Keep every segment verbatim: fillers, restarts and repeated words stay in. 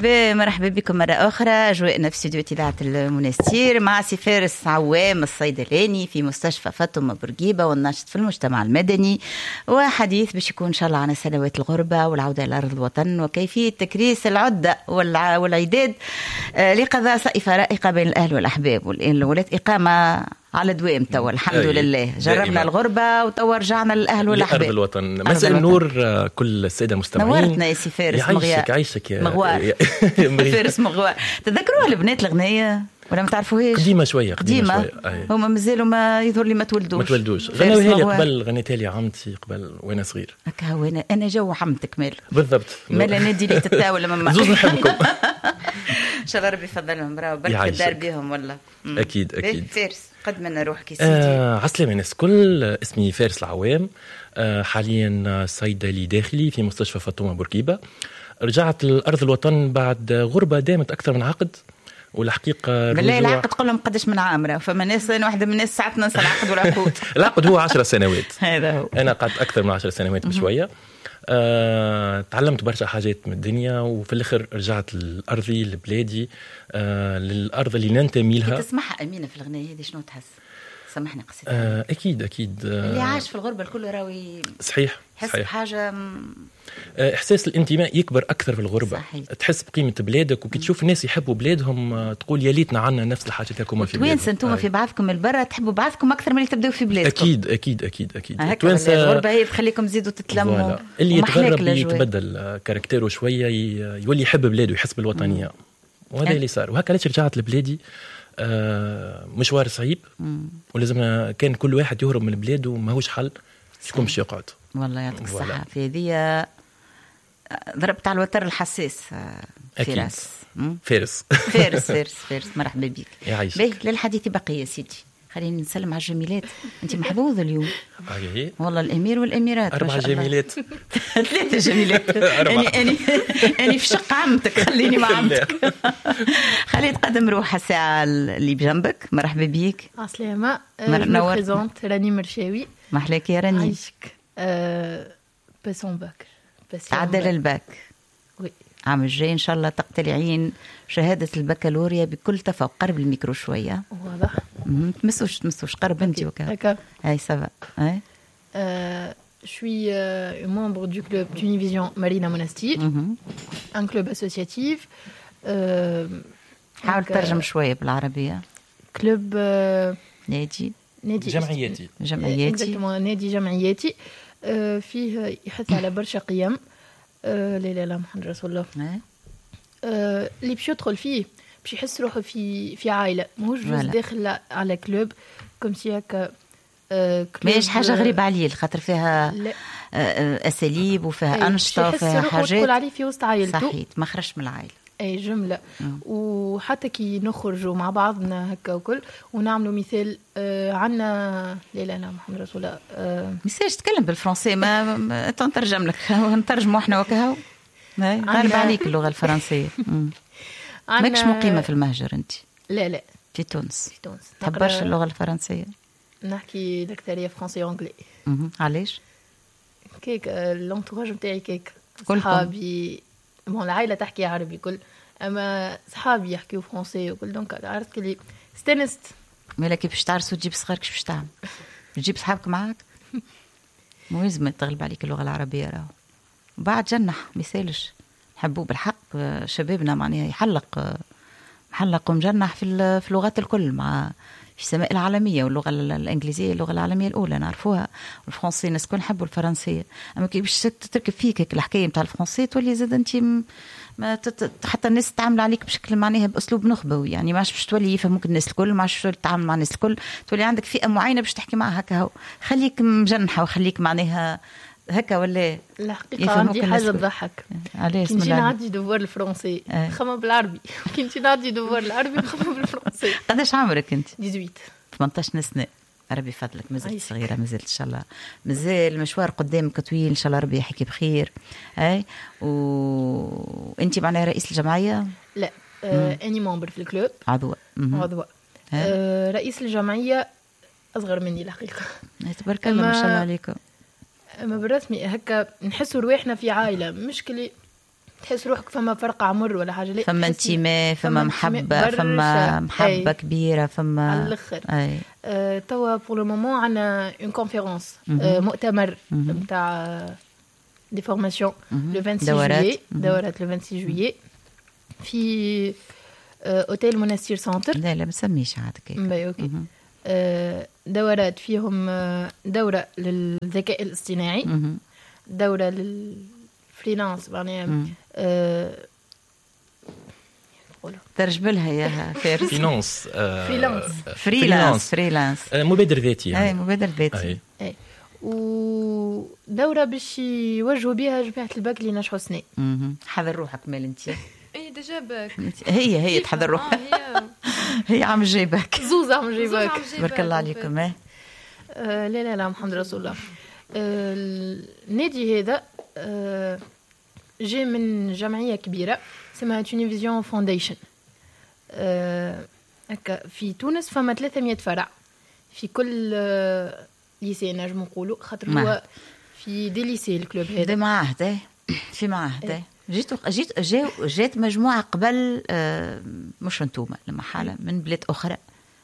مرحبا بكم مرة أخرى. أجواءنا في استوديو إذاعة المنستير مع سي فارس عوام الصيدلاني في مستشفى فاطمة بورقيبة والناشط في المجتمع المدني، وحديث باش يكون إن شاء الله عن سنوات الغربة والعودة إلى أرض الوطن وكيفية تكريس العدة والعداد لقضاء صيفة رائقة بين الأهل والأحباب. والولات إقامة على دوام توا الحمد لله، جربنا الغربة وتوا رجعنا للأهل والأحباب لأرض الوطن. مساء النور كل السادة المستمعين. نورتنا يا سي فارس. يعيشك عيشك يا مغوار. فارس مغوار. تذكروها البنات الغنية ولا ما تعرفوهاش؟ قديمة شوية، قديمة, قديمة. هما مازالوا ما يظهر لي ما تولدوش ما تولدوش. غناوها لي قبل، غنيتها لي عمتي قبل وانا صغير. هكا هو انا انا جو عمتك مال بالضبط، مال نادي لي تتاول ماما زوز نحبكم. ان شاء الله ربي يفضلهم، راهو بركة الدار بيهم والله. اكيد اكيد. فارس قدم لنا روحك يا سيدي. آه عسلامة الناس الكل، اسمي فارس العوام، آه حاليا صيدلي داخلي في مستشفى فاطمة بورقيبة. رجعت لأرض الوطن بعد غربة دامت أكثر من عقد، والحقيقة بالله العقد قول لهم قداش من عام، فما ناس أنا واحدة من الناس ساعات ننسى العقد والعقود. العقد هو عشر سنوات. هذا هو. أنا قعدت أكثر من عشر سنوات بشوية. آه، تعلمت برشا حاجات من الدنيا، وفي الآخر رجعت لأرضي لبلادي، آه، للأرض اللي ننتمي لها. تسمعها أمينة في الغناية هذه شنو تحس؟ سامحني قصيت. آه، أكيد أكيد. آه، اللي عاش في الغربة الكل راوي. صحيح. حس بحاجة، إحساس الانتماء يكبر أكثر في الغربة. صحيح. تحس بقيمة بلادك، وكي تشوف الناس يحبوا بلادهم تقول يا ليتنا عنا نفس الحاجة تاعكم في بلادهم. توانسة انتم في بعضكم البرة تحبوا بعضكم أكثر من اللي تبداو في بلادكم. أكيد أكيد أكيد أكيد. التوانسة الغربة هي تخليكم تزيدوا تتلموا. اللي يتغرب يتبدل caractère و شوية، يولي يحب بلاده، يحس بالوطنية، وهذا اللي صار. وهكا علاش رجعت لبلادي. آه، مشوار صعيب، ولازم كان كل واحد يهرب من بلاده، ماهوش حل شكون باش يقعد. والله يعطيك الصحة في هذه، ضربت على الوتر الحساس. فارس فارس فارس فارس فارس مرحبا بك. يعيشك. للحديث بقية سيدي، خليني نسلم على الجميلات. انت محظوظ اليوم والله، الامير والاميرات. اربع جميلات. ثلاثة جميلات. اني اني اني في شق عمتك، خليني مع عمتك. خلي تقدم روحها الساعة اللي بجنبك. مرحبا بيك. عسلامة. نور présente راني مرشاوي. محلاك يا راني. عايشك. passant bac. تعدل ال bac. oui. عام الجاي ان شاء الله تقتلعين شهادة البكالوريا بكل تفوق. قرب الميكرو شوية. واضح. تمسوش تمسوش قرب انت وكا. هاي ça va. هاي. Je suis euh, membre du club Tunivision Marina Monastir, mm-hmm. un club associatif. Euh, حاول ترجم شوية بالعربية. Club euh, نادي نادي جمعياتي. جمعياتي. Exactement, نادي جمعياتي. euh, فيه يحث على برشا قيم. لا لا لا محمد رسول الله. اللي باش يدخل فيه باش يحس روحه في في عائلة، ماهوش juste داخل على club comme si هكا. ماهيش حاجة غريبة عليه، خاطر فيها لا. اساليب وفيها انشطة وفيها حاجات تقول عليه في وسط عائلته. صحيح، ما خرجش من العائلة. اي جملة. مم. وحتى كي نخرجوا مع بعضنا هكا وكل ونعملوا مثال آه عنا لا لا لا محمد رسول الله. آه مثال تكلم بالفرنسي ما, ما تنترجم لك، نترجموا احنا وكهو. غالب عليك اللغة الفرنسية. ماكش مقيمة في المهجر انت؟ لا لا، في تونس. في تونس. تحب برشا اللغة الفرنسية؟ نحكي الاكثرية français anglais. علاش؟ كيك l'entourage نتاعي كيك صحابي، bon العائلة تحكي عربي كل، اما صحابي يحكيو français وكل، donc عرفت كلي استنست. مالا كي باش تعرس وتجيب صغارك باش تعمل؟ تجيب صحابك معاك؟ مو لازم تغلب عليك اللغة العربية راهو. بعد جنح ما يسالش، نحبوه بالحق شبابنا معناها يحلق محلق ومجنح في في اللغات الكل، مع في السماء العالمية، واللغة الانجليزية اللغة العالمية الاولى نعرفوها، والفرنسي الناس الكل نحبوا الفرنسية. اما كي باش تركب فيك الحكاية نتاع الفرنسي تولي زاد انت ما تت... حتى الناس تعامل عليك بشكل معناها باسلوب نخبوي، يعني ما عادش باش تولي يفهموك الناس الكل، ما عادش تتعامل مع الناس الكل، تولي عندك فئة معينة باش تحكي معها هكا. هو خليك مجنحه وخليك معناها هكا ولا. الحقيقة عندي حاجة تضحك. علاش؟ كي نجي نعدي devoir الفرنسي نخمم بالعربي، كي نجي نعدي devoir العربي نخمم بالفرنسي. قداش عمرك انت؟ ثمانية عشر. ثمنطاش سنة. ربي فضلك، مازلت صغيرة، مازلت ان شاء الله مازال مشوار قدامك طويل، ان شاء الله ربي يحكي بخير. اي وانت معناها رئيس الجمعية؟ لا، آه اني membre في ال club. عضوة. عضوة. آه رئيس الجمعية اصغر مني الحقيقة. تبارك الله ما شاء الله عليكم. اما بالرسمي هكا نحسوا رواحنا في عائلة، مش كلي تحس روحك فما فرق عمر ولا حاجة، لا فما انتماء، فما محبة، فما محبة كبيرة، فما على الاخر. آه، توا pour le moment عندنا une conférence، مؤتمر نتاع des formations le vingt-six juillet، دورات le vingt-six juillet في اوتيل منستير Centre. لا لا ما تسميش عاد كيك. OK. دورات فيهم دوره للذكاء الاصطناعي، دوره لل freelance معناها ترجم لها يا فارس. finance، freelance، freelance، freelance مبادر ذاتي يعني. اي مبادر ذاتي. اي ودوره باش يوجهوا بها جماعة الباك اللي نجحوا سنة. حضر روحك مال انت. اي déjà bac. هي هي تحضر روحها. هي عام الجاي باك. زوز عام الجاي باك. تبارك الله عليكم. لا لا لا محمد رسول الله. النادي هذا جاي من جمعية كبيرة اسمها Tunivisions Foundation. هكا في تونس فما ثلاثمية فرع في كل lycée نجم نقولوا، خاطر هو في des lycées ال club هذا. دي معاهد، في معاهد. جيت جيت جاو جات مجموعة قبل، مش انتوما لما حاله من بلاد اخرى،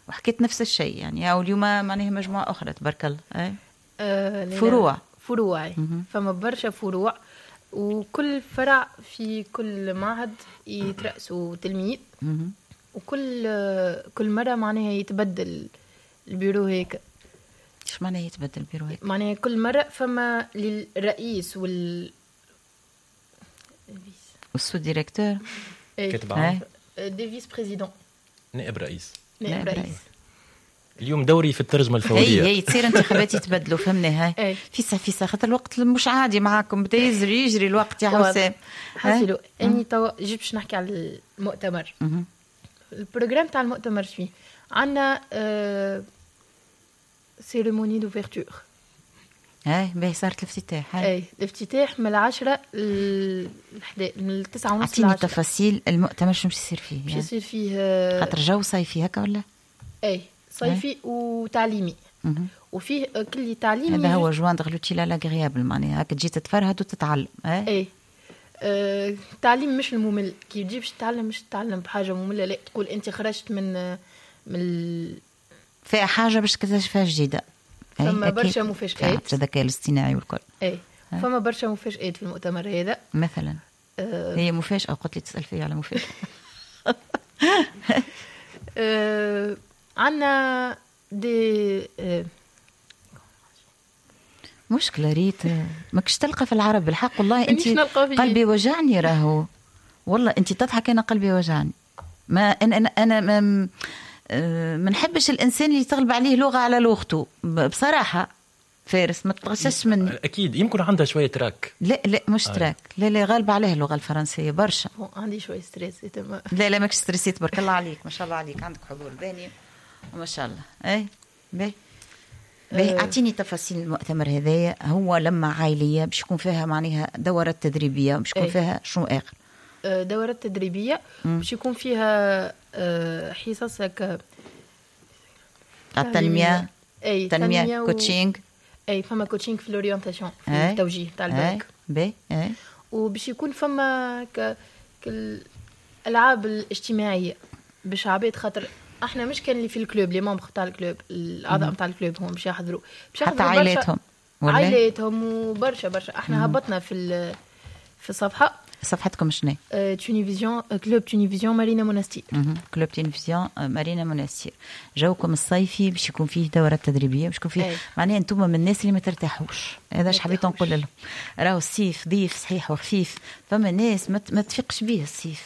وحكيت نفس الشيء يعني. او اليوم معناها مجموعة اخرى تبارك الله. اي آه فروع فروع فما برشا فروع، وكل فرع في كل معهد يترأسوا تلميذ، وكل كل مرة معناها يتبدل البيرو هيك. ايش معناها يتبدل البيرو هيك؟ معناها كل مرة فما للرئيس وال وال sous-directeur كاتب عام، des vice-présidents، نائب رئيس، نائب رئيس. اليوم دوري في الترجمة الفورية. هي هي تصير انتخابات يتبدلوا، فهمنا. هاي فيسا فيسا خاطر الوقت مش عادي معاكم، بدا يجري يجري الوقت يا حسام. حاسيلو اني توا جيت باش نحكي على المؤتمر. ال programme تاع المؤتمر فيه عندنا آه cérémonie d'ouverture. هاي باهي صارت الافتتاح. اي الافتتاح من العشرة للحدا، من التسعة ونص. اعطيني تفاصيل المؤتمر شنو باش يصير فيه. باش يصير فيه خاطر جو صيفي هكا ولا؟ اي صيفي وتعليمي، وفيه كل تعليمي. هذا هو joindre l'utile à l'agréable، معناها هكا تجي تتفرهد وتتعلم. اي آه، التعليم مش الممل، كي تجي باش تتعلم مش تتعلم بحاجة مملة، لا تقول انت خرجت من من فيها حاجة باش تكتشفها جديدة. فما برشا مفاجآت، الذكاء الاصطناعي والكل. اي فما برشا مفاجآت في المؤتمر هذا. مثلا أه هي مفاجاة، قلت لي تسال فيا على مفاجاة. أه عندنا des أه مشكلة ريت ماكش تلقى في العرب بالحق والله. انت قلبي وجعني راهو والله، انت تضحك انا قلبي وجعني. ما انا انا, أنا ما ما نحبش الانسان اللي تغلب عليه لغة على لغته بصراحة. فارس ما تغشش مني. اكيد يمكن عندها شوية trac. لا لا مش آه. trac، لا لا غالبه عليه اللغة الفرنسية برشا. عندي شوية stress. لا لا ماكش stressée، تبارك الله عليك، ما شاء الله عليك، عندك حضور ذهني وما شاء الله. اي باهي باهي. اعطيني تفاصيل المؤتمر هذايا. هو لما عائلية باش يكون فيها معناها دورات تدريبية، باش يكون فيها شنو اخر؟ دورات تدريبية باش يكون فيها حصص هكا التنمية. اي تنمية coaching. اي فما coaching في l'orientation، في التوجيه تاع الباك. باهي. اي وباش يكون فما ك الالعاب الاجتماعية باش عباد، خاطر احنا مش كان اللي في ال club، les membres تاع ال club، الاعضاء تاع ال club هم باش يحضروا، باش يحضروا حتى عائلاتهم عائلاتهم وبرشا برشا. احنا هبطنا في في الصفحة. صفحتكم شنو؟ Tunivisions، club Tunivisions مارينا مونستير. club Tunivisions مارينا مونستير. جوكم الصيفي باش يكون فيه دورات تدريبية، باش يكون فيه معناها انتم من الناس اللي ما ترتاحوش. هذا اش حبيت نقول لهم. راهو الصيف ضيف صحيح وخفيف، فما ناس ما تفيقش به الصيف،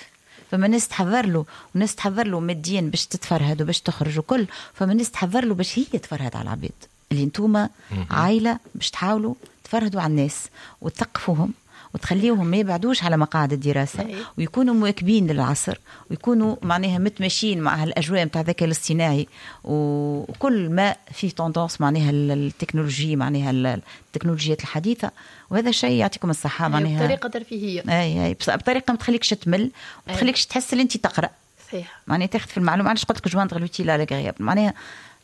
فما ناس تحضر له، وناس تحضر له ماديا باش تتفرهد وباش تخرج وكل، فما ناس تحضر له باش هي تفرهد على العباد. اللي انتم عائلة باش تحاولوا تفرهدوا على الناس وتثقفوهم وتخليهم ما يبعدوش على مقاعد الدراسة، ويكونوا مواكبين للعصر، ويكونوا معناها متماشيين مع هالأجواء متاع الذكاء الاصطناعي وكل ما فيه tendance معناها التكنولوجيا، معناها التكنولوجيات الحديثة. وهذا الشيء يعطيكم الصحة معناها بطريقة ترفيهية. أي أي بطريقة ما تخليكش تمل وتخليكش تحس اللي أنت تقرأ. صحيح. معناها تاخذ في المعلومة. علاش قلت لك joindre l'utile à l'agréable، معناها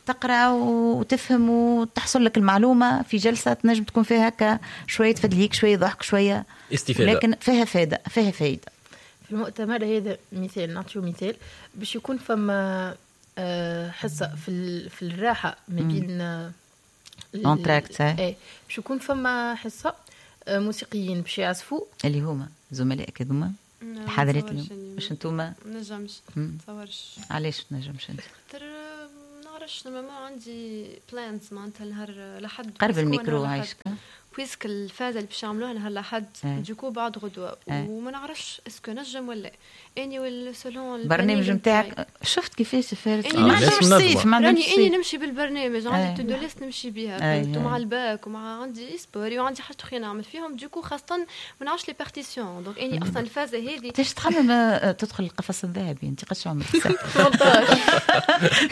تقرا وتفهم وتحصل لك المعلومة في جلسه تنجم تكون فيها هكا شوية تفدليك، شوية ضحك، شوية استفاده، لكن فيها فايده، فيها فايده. في المؤتمر هذا مثال، نعطيو مثال باش يكون فما حصة في في الراحة ما بين l'entracte، اي باش يكون فما حصة موسيقيين باش يعزفوا اللي هما زملائك هذوما الحاضرات اليوم، مش انتوما؟ ما نجمش، ما تصورش. علاش ما نجمش انت؟ خاطر ما نعرفش، normalement عندي plans معناتها نهار لحد. قرب الميكرو عايشك. puisque الفازة اللي باش يعملوها نهار لحد du coup بعد غدوه، وما نعرفش est-ce que نجم ولا اني ولا selon البرنامج نتاعك. شفت كيفاش فارس ما عندهمش صيف، ما عندهمش راني اني نمشي بالبرنامج، عندي to-do list نمشي بيها، فهمت، مع الباك ومع عندي sport وعندي حاجات اخرين نعمل فيهم، du coup خاصة ما نعرفش les partitions. donc اني اصلا الفازة هذه تاش تخمم تدخل القفص الذهبي. انت قداش عمرك؟ ثمنطاش.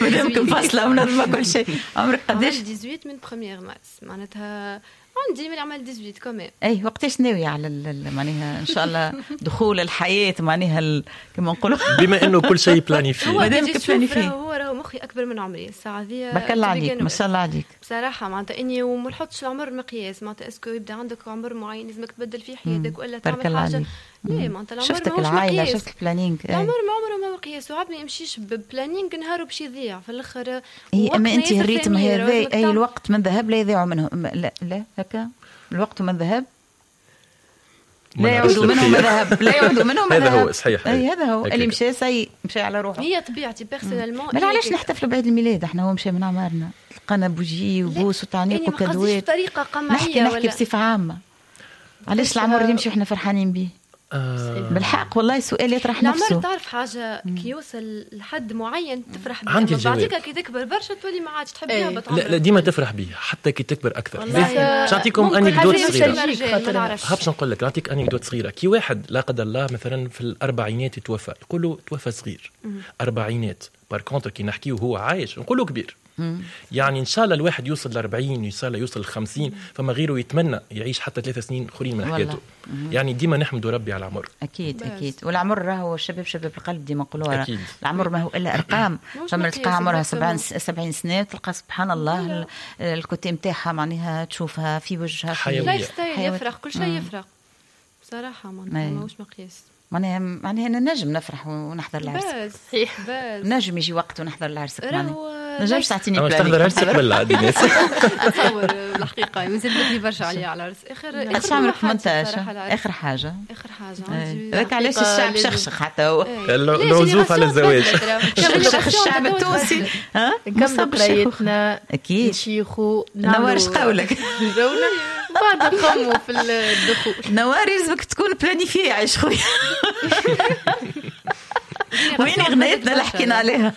مادامك فاصلة ومنظمة كل شيء، عمرك قداش؟ ثمنطاش من première مارس، معناتها عندي من عمل ثمنطاش كمان. اي وقتاش ناوية على معناها ان شاء الله دخول الحياة معناها كما نقولوا، بما انه كل شيء planifié، مادامك planifié. هو راهو مخي اكبر من عمري الساعة ذي. بارك الله عليك، ما شاء الله عليك بصراحة. معناتها اني وما نحطش العمر مقياس، معناتها est-ce que يبدا عندك عمر معين لازمك تبدل فيه حياتك ولا تعمل حاجة. لا معناتها العمر شفتك العائلة، شفت ال planning، العمر ما عمره ما مقياس، وعاد ما يمشيش ب planning نهاره باش يضيع في الاخر. اي اما انت ال rythme هذا، اي الوقت من ذهب لا يضيع منه، لا لا هكا الوقت من ذهب لا يعود منه ما ذهب، لا يعود منه ما ذهب. هذا هو صحيح، اي هذا هو اللي مشى سي مشى على روحه. هي طبيعتي personnellement. ما علاش نحتفلوا بعيد الميلاد احنا؟ هو مشى من عمرنا، تلقانا بوجي وبوس وتعنيق وكدوات. بطريقة قمعيه، نحكي نحكي بصفة عامة. علاش العمر يمشي وحنا فرحانين به؟ آه. بالحق والله سؤال يطرح نفسه. العمر تعرف حاجة كي يوصل لحد معين تفرح به، بعديك كي تكبر برشا تولي ما عادش تحب يهبط. لا لا ديما تفرح به حتى كي تكبر اكثر. باش نعطيكم anecdote صغيرة، باش نقول لك نعطيك anecdote صغيرة. كي واحد لا قدر الله مثلا في الاربعينات يتوفى، يقولوا توفى صغير اربعينات. par contre كي نحكيه وهو عايش نقولوا كبير. يعني ان شاء الله الواحد يوصل ل أربعين، ان شاء الله يوصل ل خمسين، فما غيره يتمنى يعيش حتى ثلاث سنين اخرين من حياته. يعني ديما نحمد ربي على العمر. اكيد بس. اكيد، والعمر راهو الشباب شباب القلب ديما نقولوها. العمر ما هو الا ارقام. فما تلقى عمرها سبعين سنة تلقى سبحان الله ال côté نتاعها معناها تشوفها في وجهها، في lifestyle يفرق، كل شيء يفرق بصراحة، ماهوش مقياس. معناها معناها نجم نفرح ونحضر العرس. صحيح، بس نجم يجي وقت ونحضر العرس. نجمش تعطيني planning تحضر عرسك ولا عادي ناس؟ اتصور الحقيقة مازال بدري برشا عليا على العرس. اخر اخر عمرك ثمنطاش، اخر حاجة اخر حاجة هذاك علاش الشعب شخشخ حتى هو العزوف على الزواج. شخشخ الشعب التونسي. ها نكملوا قرايتنا اكيد، نشيخوا، نوار اش قولك جونا بعد نخموا في الدخول. نوار لازمك تكون planifiée عايش خويا. وين غنيتنا اللي حكينا عليها؟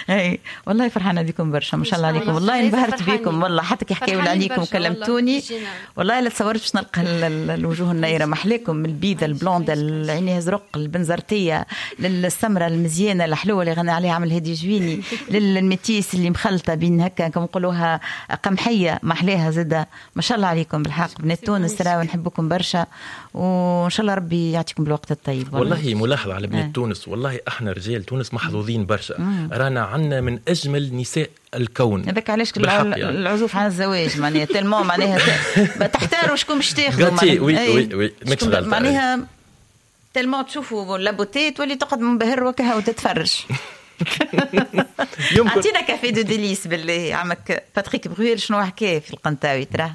اي والله فرحانة بكم برشا، ما شاء الله عليكم، والله انبهرت بكم والله، حتى كي حكاوا عليكم وكلمتوني والله لا تصورت باش نلقى الوجوه النيره. محلاكم، البيضة ال blonde، العينية زرق، البنزرتيه، للسمره المزيانه الحلوة اللي غنى عليها عمل هادي جويني، لل métisse اللي مخلطه بين هكا كما نقولوها قمحيه، محلاها زاده. ما شاء الله عليكم بالحق بنات تونس، راهو نحبكم برشا، وان شاء الله ربي يعطيكم بالوقت الطيب. والله, والله ملاحظة على بنات تونس، والله احنا رجال تونس محظوظين برشا، رانا عندنا من اجمل نساء الكون. هذاك علاش العزوف عن الزواج معناها tellement معناها تحتاروا شكون باش تاخذوا. oui oui oui ماكش غلط معناها tellement تشوفوا la beauté تولي تقعد منبهر وكها وتتفرج. اعطينا café des délices بالله عمك باتريك برويل شنو حكى في القنطاوي ترى.